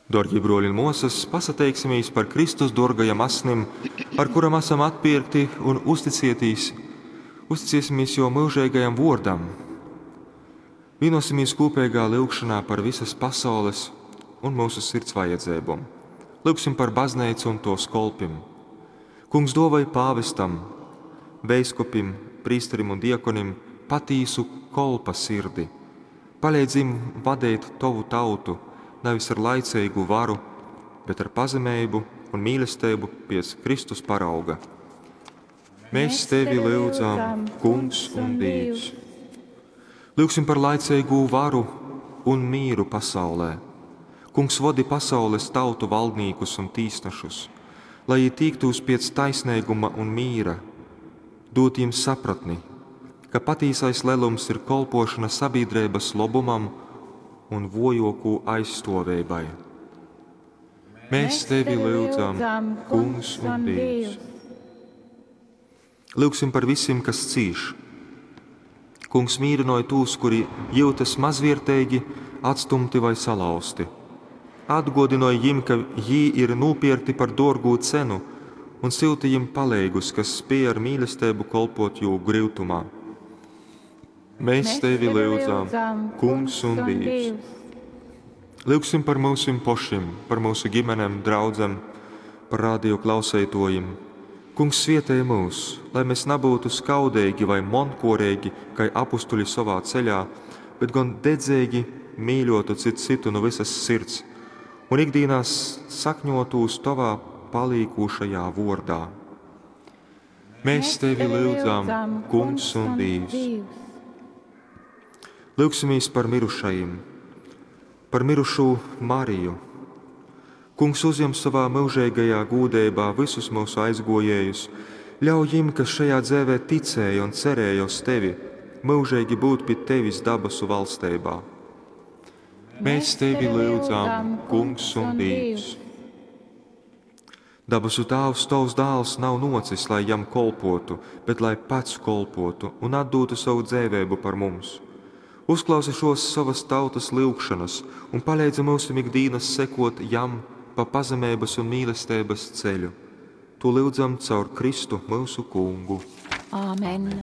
Dōrgī brōļi un mōsas, pasateiksimies par Kristus dōrgajam asnim, ar kuram asam atpierkti un uzticiesimies jō myužeigajam vōrdam. Vīnosimies kūpeigā lyugšonā par visas pasaules un myusu sirds vajadzeibom. Lyugsim par bazneicu un tōs kolpim. Kungs dōvoj pāvestam, veiskupim, prīsterim un diakonim patīsu kolpa sirdi. Paleidz jim vadeit tovu tautu nevis ar laiceigu varu, bet ar pazemeibu un mīlesteibu piec Kristus parauga. Mēs tevi lyudzam, Kungs un Dīvs. Lyugsim par laiceigū varu un mīru pasaulē. Kungs vodi pasaules tautu valdnīkus un tīsnešus, lai jī tīktūs piec taisneiguma un mīra, dūd jim sapratni, ka patīsais lelums ir kolpošana sabiedrības lobumam un vojokū aizstoveibai. Mēs tevi lyudzam, Kungs un Dievs. Lyugsim par visiem, kas cīš. Kungs mīrinoja tos, kuri jūtas mazvierteigi, atstumti vai salauzti. Atgodinoja jim, ka jī ir nopirkti par dārgu cenu, un syuti jim paleigus, kas spēj ar mīlestību kolpot jū gryutumā. Mēs tevi lyudzam, Kungs un Dievs. Lyugsim par mūsim pošim, par mūsu ģimenēm, draudzem, par radio klausētojiem. Kungs svietē mūs, lai mēs nebūtu skaudeigi vai monkoreigi, kai apustuļi savā ceļā, bet gan dedzeigi mīļotu citu citu no visas sirds un ikdienās sakņotūs tavā palīkošajā vordā. Mēs tevi lyudzam, Kungs un Dievs. Lūgsimies par mirušajiem, par mirušū Mariju. Kungs uzņem savā mūžīgajā gūdeibā visus mūsu aizgojējus, ļauj jim, kas šajā dzīvē ticēja un cerēja uz tevi, mūžīgi būt pie tevis dabasu valstībā. Mēs tevi lūdzam, Kungs un Dievs. Dabasu Tāvs, tavs dēls nav nocis, lai jam kolpotu, bet lai pats kolpotu un atdotu savu dzīvību par mums. Uzklausi šos savas tautas lūgšanas un palīdzi mums ikdienas sekot jam pa pazemības un mīlestības ceļu. To lūdzam caur Kristu mūsu kungu. Āmen.